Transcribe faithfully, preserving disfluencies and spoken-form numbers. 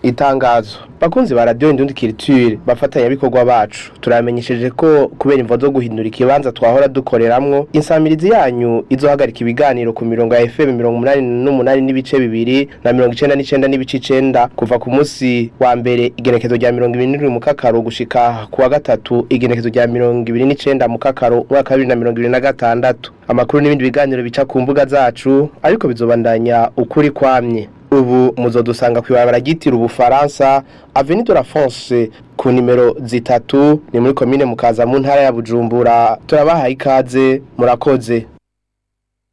Itangazo: bakunzi ba Radio Indundi Culture, bafatanyabikorwa bacu, turamenyesheje ko kubera imvo zo guhindura ikibanza twahora dukoreramwo, insamirizi yanyu izohagarika ibiganiro ku mirongo ya F M mirongo umunani n'umunani n'ibice bibiri na mirongo icenda n'icenda n'ibice icenda kuva ku munsi wa mbere igenekezo rya mirongo ibiri n'indwi Mukakaro gushika ku wa gatatu igenekezo rya mirongo ibiri n'icenda Mukakaro umwaka wa bibiri na mirongo ibiri na gatandatu. Amakuru n'ibindi biganiro bica ku mbuga zacu, ariko bizobandanya ukuri kwamye. Ubu muzodusanga kw'ibarabara ryitiriwe Ubufaransa, Avenue de la France, ku nimero zitatu, ni muri komine Mukaza, mu ntara ya Bujumbura. Turabahaye ikaze, murakoze.